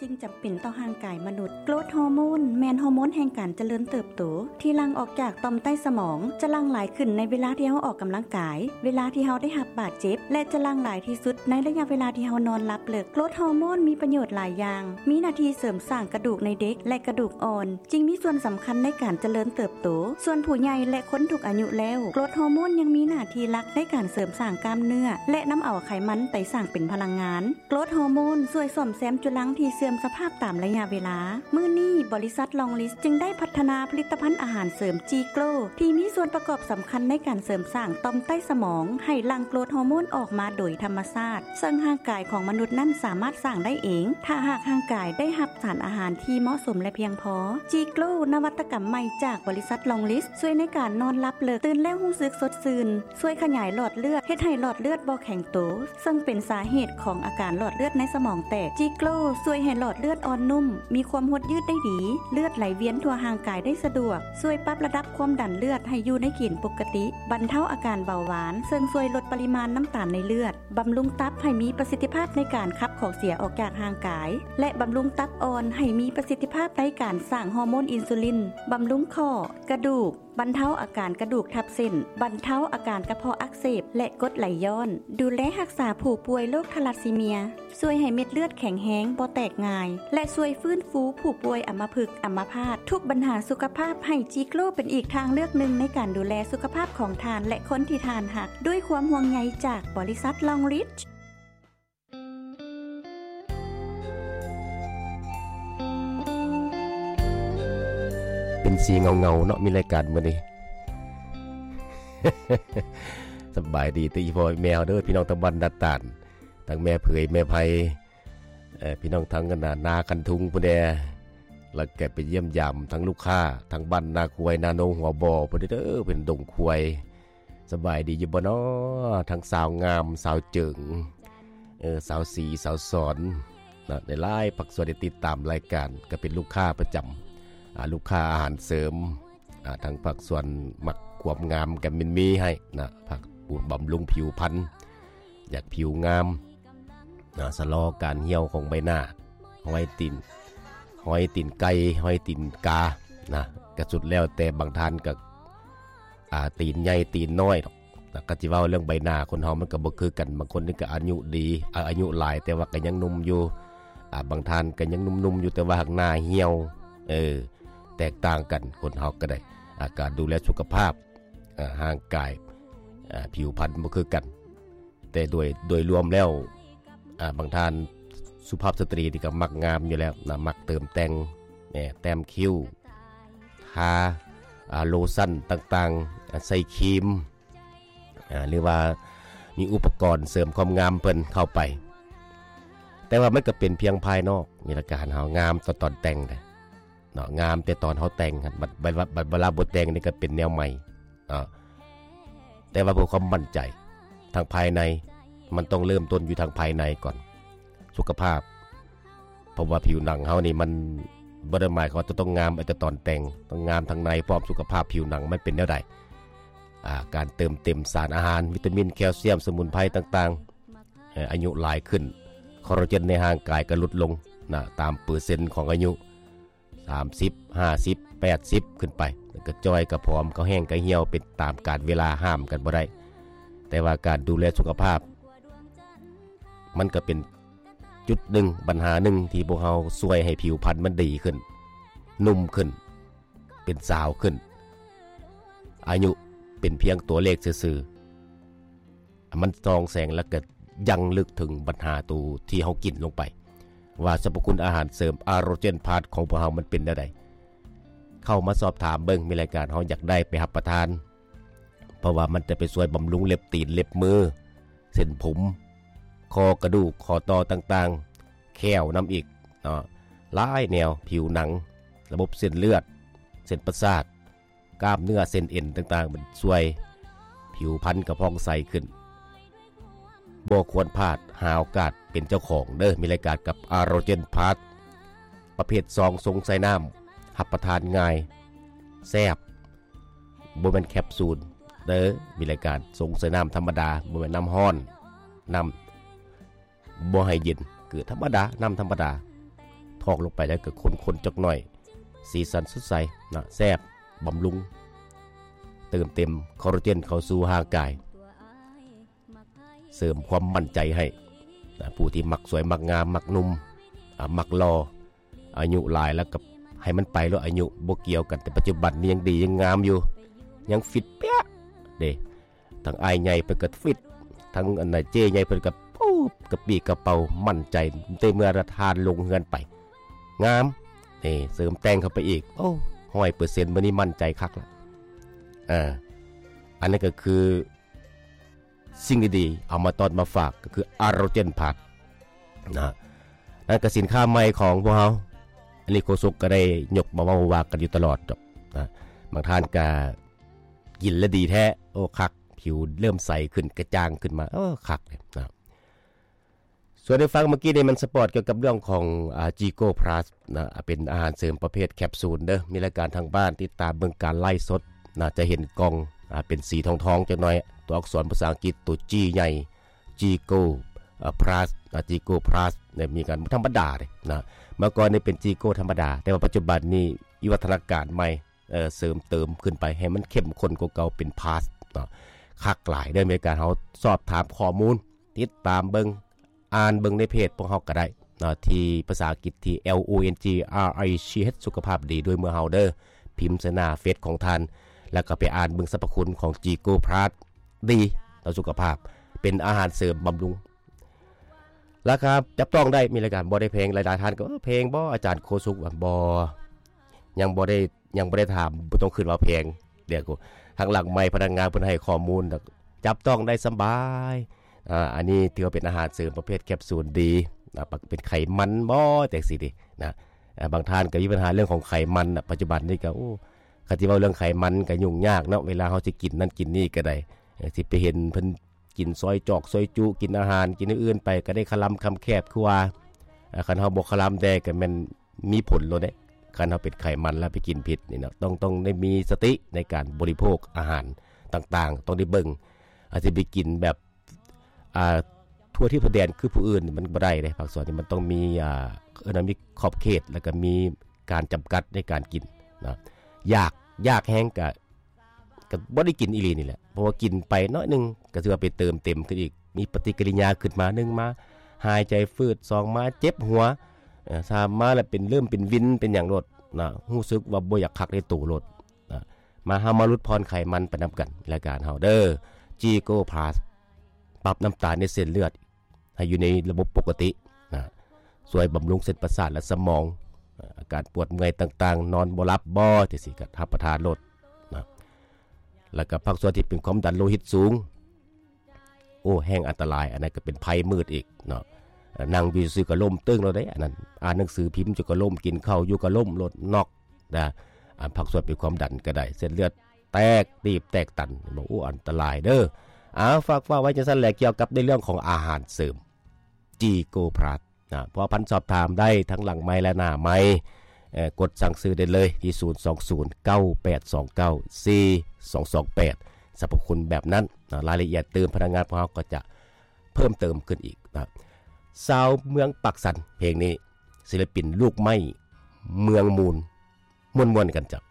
ສິ່ງຈຳເປັນຕໍ່ຮ່າງກາຍມະນຸດ. ໂກຣດຮໍໂມນແມ່ນຮໍໂມນແຫ່ງການຈະເລີນເຕີບໂຕ ທີ່ຫຼັ່ງອອກຈາກຕ່ອມໃຕ້ສະໝອງ, ຈະຫຼັ່ງຫຼາຍຂຶ້ນໃນເວລາທີ່ເຮົາອອກກຳລັງກາຍ, ເວລາທີ່ເຮົາໄດ້ຮັບບາດເຈັບ ແລະ ຈະຫຼັ່ງຫຼາຍທີ່ສຸດໃນໄລຍະເວລາທີ່ເຮົານອນຫຼັບເລິກ. ໂກຣດຮໍໂມນມີປະໂຫຍດຫຼາຍຢ່າງ, ມີໜ້າທີ່ເສີມສ້າງກະດູກໃນເດັກ ແລະ ກະດູກອ່ອນ, ຈຶ່ງມີສ່ວນສຳຄັນໃນການຈະເລີນເຕີບໂຕ. ສ່ວນຜູ້ໃຫຍ່ ແລະ ຄົນທຸກອາຍຸແລ້ວ, ໂກຣດຮໍໂມນຍັງມີໜ້າທີ່ຫຼັກໃນການເສີມສ້າງກ້າມເນື້ອ ແລະ ນຳເອົາໄຂມັນໄປສ້າງເປັນພະລັງງານ. ໂກຣດຮໍໂມນຊ່ວຍສ້ອມແຊມຈຸລັງທີ່ເສື່ອມສະພາບຕາມໄລຍະເວລາ. ມື້ນີ້, ບໍລິສັດລອງລິດ ຈຶ່ງໄດ້ພັດທະນາຜະລິດຕະພັນອາຫານເສີມຈີໂກຣ ທີ່ມີສ່ວນປະກອບສຳຄັນໃນການເສີມສ້າງຕ່ອມໃຕ້ສະໝອງ ໃຫ້ຫຼັ່ງໂກຣດຮໍໂມນອອກມາໂດຍທຳມະຊາດ, ເຊິ່ງຮ່າງກາຍຂອງມະນຸດນັ້ນສາມາດສ້າງໄດ້ເອງ ຖ້າຫາກຮ່າງກາຍໄດ້ຮັບສານອາຫານທີ່ເໝາະສົມ ແລະ ພຽງພໍ. ຈີໂກຣ ນະວັດຕະກຳໃໝ່ຈາກບໍລິສັດລອງລິດ ຊ່ວຍໃນການນອນຫຼັບເລິກ, ຕື່ນແລ້ວຮູ້ສຶກສົດຊື່ນ, ຊ່ວຍຂະຫຍາຍຫຼອດເລືອດ, ເຮັດໃຫ້ຫຼອດເລືອດບໍ່ແຂງໂຕ, ເຊິ່ງເປັນສາເຫດຂອງອາການຫຼອດເລືອດໃນສະໝອງແຕກ. ຈີໂກຣຊ່ວຍໃຫ້ຫຼອດເລືອດອ່ອນນຸ້ມ, ມີຄວາມຫົດຍືດໄດ້ດີ, ເລືອດໄຫຼວຽນທົ່ວຮ່າງກາຍໄດ້ສະດວກ, ຊ່ວຍປັບລະດັບຄວາມດັນເລືອດໃຫ້ຢູ່ໃນເກນປົກກະຕິ, ບັນເທົາອາການເບົາຫວານ, ເຊິ່ງຊ່ວຍລົດປະລິມານນ້ຳຕານໃນເລືອດ, ບຳລຸງຕັບໃຫ້ມີປະສິດທິພາບໃນການຂັບຂອງເສຍອອກຈາກຮ່າງກາຍ ແລະ ບຳລຸງຕັບອ່ອນໃຫ້ມີປະສິດທິພາບໃນການສ້າງຮໍໂມນອິນຊູລິນ, ບຳລຸງຂໍ້, ກະດູກ, ບັນເທົາອາການກະດູກທັບເສັ້ນ, ບັນເທົາອາການກະເພາະອັກເສບ ແລະ ກົດໄຫຼຍ້ອນ, ດູແລຮັກສາຜູ້ປ່ວຍໂລກທາລັດຊີເມຍ, ຊ່ວຍໃຫ້ເມັດເລືອດແຂງແຮງ, ບໍ່ແຕກງ່າຍ ແລະ ຊ່ວຍຟື້ນຟູຜູ້ປ່ວຍອຳມະພຶກ, ອຳມະພາດ, ທຸກບັນຫາສຸຂະພາບ, ໃຫ້ຈີໂກຣເປັນອີກທາງເລືອກໜຶ່ງໃນການດູແລສຸຂະພາບຂອງທ່ານ ແລະ ຄົນທີ່ທ່ານຮັກ. ດ້ວຍຄວາມຫ່ວງໃຍຈາກບໍລິສັດລອງລິດ. ເປັນສີເງົາໆເນາະ ມີລາຍການມື້ນີ້. ສະບາຍດີຕິພໍ່ແມ່ເຮົາເດີ ພີ່ນ້ອງທາງບ້ານນາຕານ, ທັງແມ່ເຜີຍ ແມ່ໄພ, ເອີ ພີ່ນ້ອງທາງນາ ນາຄັນທຸງພຸ້ນແດ່, ແລ້ວກໍໄປຢ້ຽມຢາມທັງລູກຄ້າ ທາງບ້ານນາຄວາຍ ນາໂນ ຫົວບໍ່ພຸ້ນເດີ ເປັນດົງຄວາຍ. ສະບາຍດີຢູ່ບໍ່ນໍ ທັງສາວງາມ ສາວເຈີງ ເອີ ສາວສີ ສາວສອນ ນະ ຫຼາຍໆພາກສ່ວນທີ່ຕິດຕາມລາຍການ ກໍເປັນລູກຄ້າປະຈຳ ອາ ລູກຄ້າອາຫານເສີມ ອາ ທັງພາກສ່ວນມັກຄວາມງາມກໍມີໃຫ້ນະ ພັກບຳລຸງຜິວພັນ ຢາກຜິວງາມ ນະ ຊະລໍການຫ່ຽວຂອງໃບໜ້າ ຮອຍຕີນ ຮອຍຕີນໄກ່ ຮອຍຕີນກາ ນະ ກະສຸດແລ້ວແຕ່ ບາງທ່ານກະ ອາ ຕີນໃຫຍ່ຕີນນ້ອຍດອກ ນະ ກະຊິເວົ້າເລື່ອງໃບໜ້າຄົນເຮົາມັນກະບໍ່ຄືກັນ ບາງຄົນນີ້ກະອາຍຸດີ ອາ ອາຍຸຫຼາຍແຕ່ວ່າກະຍັງໜຸ່ມຢູ່ ອາ ບາງທ່ານກະຍັງໜຸ່ມໆຢູ່ແຕ່ວ່າຫາກໜ້າຫ່ຽວ ເອີ ແຕກຕ່າງກັນ ຄົນເຮົາກະໄດ້ ອາ ການດູແລສຸຂະພາບ ອາ ຮ່າງກາຍ ອາ ຜິວພັນບໍ່ຄືກັນ ແຕ່ໂດຍ ໂດຍລວມແລ້ວ ອາ ບາງທ່ານສຸພາບສະຕຣີນີ້ກໍມັກງາມຢູ່ແລ້ວນະ ມັກເຕີມແຕ່ງ ແນ ແຕ້ມຄິ້ວ ທາ ອາ ໂລຊັນຕ່າງໆ ອາ ໃສ່ຄຣີມ ອາ ຫຼືວ່າມີອຸປະກອນເສີມຄວາມງາມເພິ່ນເຂົ້າໄປ ແຕ່ວ່າມັນກໍເປັນພຽງພາຍນອກ ມີລະການເຮົາງາມຕອນ ຕອນແຕ່ງເດ້ ເນາະ ງາມແຕ່ຕອນເຮົາແຕ່ງຫັ້ນ ບັດ ບັດ ບັດເວລາບໍ່ແຕ່ງນີ້ກໍເປັນແນວໃໝ່ເນາະ ແຕ່ວ່າເພື່ອຄວາມໝັ້ນໃຈທາງພາຍໃນ ມັນຕ້ອງເລີ່ມຕົ້ນຢູ່ທາງພາຍໃນກ່ອນ ສຸຂະພາບ ເພາະວ່າຜິວໜັງເຮົານີ້ມັນບໍ່ໄດ້ໝາຍຄວາມວ່າຈະຕ້ອງງາມເອົາແຕ່ຕອນແຕ່ງ ຕ້ອງງາມທາງໃນພ້ອມ ສຸຂະພາບຜິວໜັງມັນເປັນແນວໃດ ອາ ການເຕີມເຕັມສານອາຫານ ວິຕາມິນ ແຄລຊຽມ ສະໝຸນໄພຕ່າງໆ ເອີ ອາຍຸຫຼາຍຂຶ້ນ ຄໍລາເຈນໃນຮ່າງກາຍກໍຫຼຸດລົງນະ ຕາມເປີເຊັນຂອງອາຍຸ ສາມສິບ ຫ້າສິບ ແປດສິບ ຂຶ້ນໄປ ແລ້ວກໍຈ່ອຍ ກໍຜອມ ກໍແຫ້ງ ກໍຫ່ຽວ ເປັນຕາມການເວລາ ຫ້າມກັນບໍ່ໄດ້ ແຕ່ວ່າການດູແລສຸຂະພາບ ມັນກໍເປັນຈຸດໜຶ່ງ ບັນຫາໜຶ່ງ ທີ່ພວກເຮົາຊ່ວຍໃຫ້ຜິວພັນມັນດີຂຶ້ນ ໜຸ່ມຂຶ້ນ ເປັນສາວຂຶ້ນ ອາຍຸເປັນພຽງຕົວເລກຊື່ໆ ມັນສ່ອງແສງ ແລ້ວກໍຍັງລຶກເຖິງບັນຫາໂຕທີ່ເຮົາກິນລົງໄປ ວ່າສັບພະຄຸນອາຫານເສີມ ອາໂຣເຈນພລັສ ຂອງພວກເຮົາມັນເປັນແນວໃດ ເຂົ້າມາສອບຖາມເບິ່ງ ມີລາຍການເຮົາຢາກໄດ້ໄປຮັບປະທານ ເພາະວ່າມັນຈະໄປຊ່ວຍບຳລຸງເລັບຕີນ ເລັບມື ເສັ້ນຜົມ ຂໍ້ກະດູກ ຂໍ້ຕໍ່ຕ່າງໆ ແຂ້ວນຳອີກເນາະ ຫຼາຍແນວ ຜິວໜັງ ລະບົບເສັ້ນເລືອດ ເສັ້ນປະສາດ ກ້າມເນື້ອເສັ້ນເອັນຕ່າງໆ ມັນຊ່ວຍ ຜິວພັນກໍຜ່ອງໃສຂຶ້ນ. ບໍ່ຄວນພາດ ຫາໂອກາດເປັນເຈົ້າຂອງເດີ້ ມີລາຍການກັບ ອາໂຣເຈນພລັສ ປະເພດຊອງຊົງໃສ່ນ້ຳ ຮັບປະທານງ່າຍ ແຊບ ບໍ່ແມ່ນແຄບຊູນເດີ້ ມີລາຍການຊົງໃສ່ນ້ຳທຳມະດາ ບໍ່ແມ່ນນ້ຳຮ້ອນ ນ້ຳ ບໍ່ໃຫ້ເຢັນ ຄືທຳມະດາ ນ້ຳທຳມະດາ ໂທ ອກລົງໄປແລ້ວກໍຄົນໆຈັກໜ້ອຍ ສີສັນສົດໃສນະ ແຊບ ບຳລຸງ ເຕີມເຕັມຄໍລາເຈນເຂົ້າສູ່ຮ່າງກາຍ ເສີມຄວາມໝັ້ນໃຈໃຫ້ນະ ຜູ້ທີ່ມັກສວຍ ມັກງາມ ມັກໜຸ່ມ ອາ ມັກຫຼໍ່ ອາຍຸຫຼາຍແລ້ວກໍໃຫ້ມັນໄປໂລດ ອາຍຸບໍ່ກ່ຽວກັນ ແຕ່ປັດຈຸບັນນີ້ຍັງດີຍັງງາມຢູ່ ຍັງຟິດເປຍເດ້. ທັງອ້າຍໃຫຍ່ເພິ່ນກໍຟິດ ທັງອັນນາເຈ້ໃຫຍ່ເພິ່ນກໍປູບກະປີ້ກະເປົາໝັ້ນໃຈ ແຕ່ເມື່ອລະທ່ານລົງເຮືອນໄປ ງາມ ນີ້ເສີມແຕ່ງເຂົ້າໄປອີກ ໂອ້ ຮ້ອຍເປີເຊັນ ມື້ນີ້ໝັ້ນໃຈຄັກລະ. ເອີ ອັນນັ້ນກໍຄືສິ່ງດີໆ ເອົາມາຕ້ອນມາຝາກ ກໍຄືອາໂຣເຈນພລັສນະ ນັ້ນກໍສິນຄ້າໃໝ່ຂອງພວກເຮົາ ອັນນີ້ໂຄສົກກໍໄດ້ຍົກມາເວົ້າວ່າກັນຢູ່ຕະຫຼອດດອກນະ ບາງທ່ານກໍ ກິນແລ້ວດີແທ້ ໂອ້ ຄັກ ຜິວເລີ່ມໃສຂຶ້ນ ກະຈ່າງຂຶ້ນມາ ເອີ ຄັກເລີຍນະ. ສ່ວນທີ່ຟັງເມື່ອກີ້ນີ້ມັນສະປອດກ່ຽວກັບເລື່ອງຂອງ ອາ ຈີໂກພລັສນະ ເປັນອາຫານເສີມປະເພດແຄບຊູນເດີ ມີລາຍການທາງບ້ານ ຕິດຕາມເບິ່ງການໄລຟ໌ສົດນະ ຈະເຫັນກ່ອງ ອາ ເປັນສີທອງໆຈັກໜ້ອຍ ຕົວອັກສອນພາສາອັງກິດ ຕົວຈີໃຫຍ່ ຈີໂກ ອາ ພລັສນະ ຈີໂກພລັສນີ້ ມີການບໍ່ທຳມະດາເດ້ນະ ເມື່ອກ່ອນນີ້ເປັນຈີໂກທຳມະດາ ແຕ່ວ່າປັດຈຸບັນນີ້ວິວັດທະນາການໃໝ່ ເອີ ເສີມເຕີມຂຶ້ນໄປໃຫ້ມັນເຂັ້ມຂຸ້ນກວ່າເກົ່າ ເປັນພລັສເນາະ ຄັກຫຼາຍເດີ. ໃນການເຮົາສອບຖາມຂໍ້ມູນ ຕິດຕາມເບິ່ງ ອ່ານເບິ່ງໃນເພຈພວກເຮົາກໍໄດ້ເນາະ ທີ່ພາສາອັງກິດທີ່ L O N G R I C H ສຸຂະພາບດີດ້ວຍເມືອງເຮົາເດີ ພິມໃສ່ໜ້າເຟສຂອງທ່ານ ແລ້ວກໍໄປອ່ານເບິ່ງສັບພະຄຸນຂອງ G Go Plus ດີຕໍ່ສຸຂະພາບ ເປັນອາຫານເສີມບຳລຸງ ລາຄາຈັບຕ້ອງໄດ້ ມີລາຍການບໍ່ໄດ້ແພງ. ຫຼາຍໆທ່ານກໍ ເອີ ແພງບໍ່ອາຈານໂຄສຸກ? ວ່າ ບໍ່ ຍັງບໍ່ໄດ້ ຍັງບໍ່ໄດ້ຖາມ ບໍ່ຕ້ອງຄິດວ່າແພງ. ດຽວທາງຫຼັງໄມພະນັກງານເພິ່ນໃຫ້ຂໍ້ມູນ ແລ້ວຈັບຕ້ອງໄດ້ສະບາຍ. ອາ ອັນນີ້ຖືວ່າເປັນອາຫານເສີມປະເພດແຄບຊູນດີ ອາ ເປັນໄຂມັນບໍ່ ຈັ່ງຊີ້ເດນະ. ອາ ບາງທ່ານກໍມີບັນຫາເລື່ອງຂອງໄຂມັນນະ ປັດຈຸບັນນີ້ກໍ ໂອ້ ຄັນຊິເວົ້າເລື່ອງໄຂມັນກໍຫຍຸ້ງຍາກເນາະ ເວລາເຮົາຊິກິນນັ້ນກິນນີ້ກໍໄດ້ ເອີ ຊິໄປເຫັນເພິ່ນ ກິນຊອຍຈອກຊອຍຈຸ ກິນອາຫານ ກິນແນວອື່ນໄປ ກໍໄດ້ຄະລຳຄຳແຄບ ຄືວ່າ ອາ ຄັນເຮົາບໍ່ຄະລຳແດ່ ກໍແມ່ນມີຜົນໂລດເດ້. ຄັນເຮົາເປັນໄຂມັນແລ້ວໄປກິນຜິດນີ້ເນາະ ຕ້ອງ ຕ້ອງໄດ້ມີສະຕິໃນການບໍລິໂພກອາຫານຕ່າງໆ ຕ້ອງໄດ້ເບິ່ງ. ອາດຈະໄປກິນແບບ ອ່າ ທົ່ວທິດທົ່ວແດນຄືຜູ້ອື່ນ ມັນບໍ່ໄດ້ເດ້. ພາກສ່ວນນີ້ມັນຕ້ອງມີ ອ່າ ເອີ້ນວ່າມີຂອບເຂດ ແລ້ວກໍມີການຈຳກັດໃນການກິນເນາະ. ຢາກ ຢາກແຮງກະ ກໍບໍ່ໄດ້ກິນອີ່ຫຼີນີ້ແຫຼະ ເພາະວ່າກິນໄປໜ້ອຍໜຶ່ງ ກໍຖືວ່າໄປເຕີມເຕັມຂຶ້ນອີກ ມີປະຕິກິລິຍາຂຶ້ນມາ ໜຶ່ງມາຫາຍໃຈຝືດ ສອງມາເຈັບຫົວ ເອີ ສາມມາແລ້ວເປັນເລີ່ມເປັນວິນເປັນຫຍັງໂລດນະ ຮູ້ສຶກວ່າບໍ່ຢາກຄັກໃນໂຕໂລດນະ. ມາ ເຮົາມາຫຼຸດຜ່ອນໄຂມັນໄປນຳກັນ ລາຍການເຮົາເດີ G Go Plus ປັບນ້ຳຕານໃນເສັ້ນເລືອດ ໃຫ້ຢູ່ໃນລະບົບປົກກະຕິນະ ຊ່ວຍບຳລຸງເສັ້ນປະສາດ ແລະ ສະໝອງ ອາ ອາການປວດເມື່ອຍຕ່າງໆ ນອນບໍ່ຫຼັບບໍ່ ຈັ່ງຊີ້ກໍຮັບປະທານໂລດນະ. ແລ້ວກໍພາກສ່ວນທີ່ເປັນຄວາມດັນໂລຫິດສູງ ໂອ້ ແຮ່ງອັນຕະລາຍ ອັນນັ້ນກໍເປັນໄພມືດອີກເນາະ. ອາ ນັ່ງຢູ່ຊື່ໆກໍລົ້ມຕຶ້ງໂລດເດ້ ອັນນັ້ນ ອ່ານໜັງສືພິມຢູ່ກໍລົ້ມ ກິນເຂົ້າຢູ່ກໍລົ້ມໂລດ ນັອກນະ. ອາ ພາກສ່ວນເປັນຄວາມດັນກໍໄດ້ ເສັ້ນເລືອດ ແຕກຕີບແຕກຕັນ ໂອ້ ອັນຕະລາຍເດີ. ເອົາ ຝາກ ຝາກໄວ້ຈັ່ງຊັ້ນແຫຼະ ກ່ຽວກັບໃນເລື່ອງຂອງອາຫານເສີມ G Go Plus ນະ. ພົວພັນສອບຖາມໄດ້ທັງຫຼັງໄມ ແລະ ໜ້າໄມ ເອີ ກົດສັ່ງຊື້ໄດ້ເລີຍທີ່ ສູນສອງສູນ ເກົ້າແປດສອງເກົ້າ ສີ່ສອງສອງແປດ ສັບພະຄຸນແບບນັ້ນນະ. ລາຍລະອຽດຕື່ມ ພະນັກງານພວກເຮົາກໍຈະເພີ່ມເຕີມຂຶ້ນອີກນະ. ຊາວເມືອງປາກຊັນ ເພງນີ້ ສິລະປິນລູກໄມ້ເມືອງມູນ ມ່ວນໆກັນເຈົ້າ